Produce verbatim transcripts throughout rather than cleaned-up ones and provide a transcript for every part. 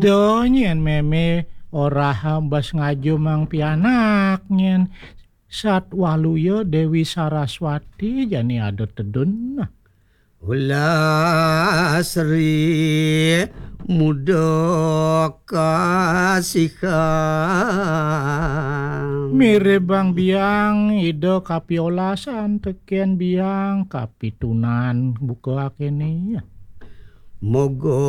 Eda nyén mémé orahang bas ngajumang pianak nyén. Sat waluya Déwi Saraswati jani ada tedun. Ulah Sri muda kasihang. Miribang biang ida kapiolasan tekén biang kapitunan buka akéné. Moga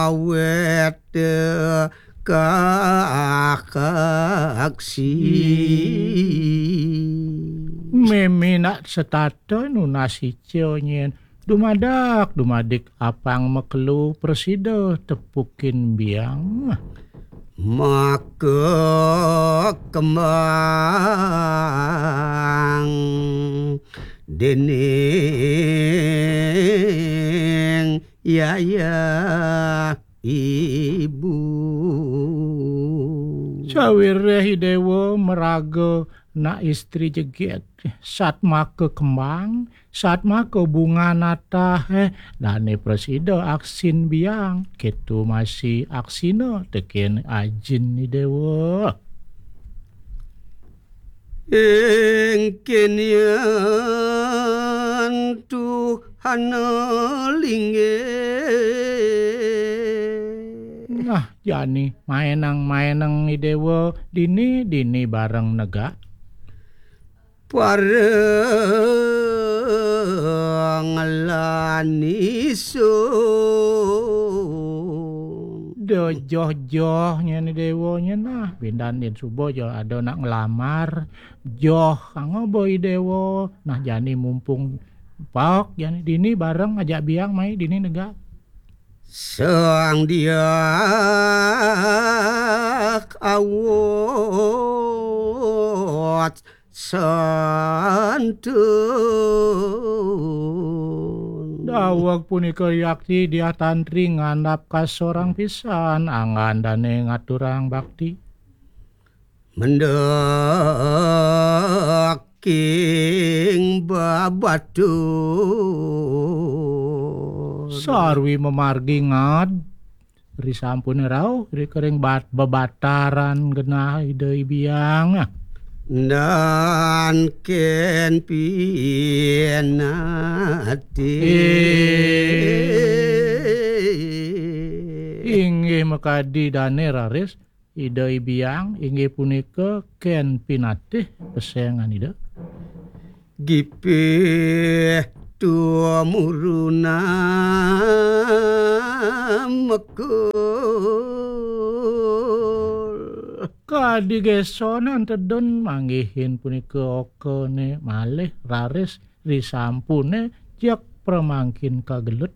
wéta kaaksi. Mémé nak setata nunas ica nyén dumadak dumadik apang makelo prasida tepukin biang. Maka kembang déning yayah ibu. Sawiréh Idéwa maraga nak istri jegét, satmaka kembang, satmaka bunga natah, eh, dané prasida aksin biang, kéto masih aksina tekén ajin Idéwa. Ing kényan tuhana linggih. Nah, jani maenang-maenang Idéwa dini, dini bareng negak. Para ngelani sun. Da joh-joh nyén Idéwa nyén nah, bindan din suba ja ada nak ngelamar. Joh kanggo ba Idéwa. Nah, jani mumpung paek jani dini bareng ajak biang mai dini negak. Sang Diak awat santun. Daweg punika yakti Diah Tantri ngandap kasorang pisan anggan dané ngaturang bakti. Mendek king babatur. Sarwi mamargi ngad, risampuné rauh, ri kering bat-, bebataran genah Ida Hyang Biang. Dan ken pinati. Inggih makadi dané raris, Ida Hyang Biang inggih punika ken pinatih pesengan Ida. Gipih tumuruna mekul. Kadi gesonan tedun manggihin punika okané malih raris risampuné jak pramangkin kagelut.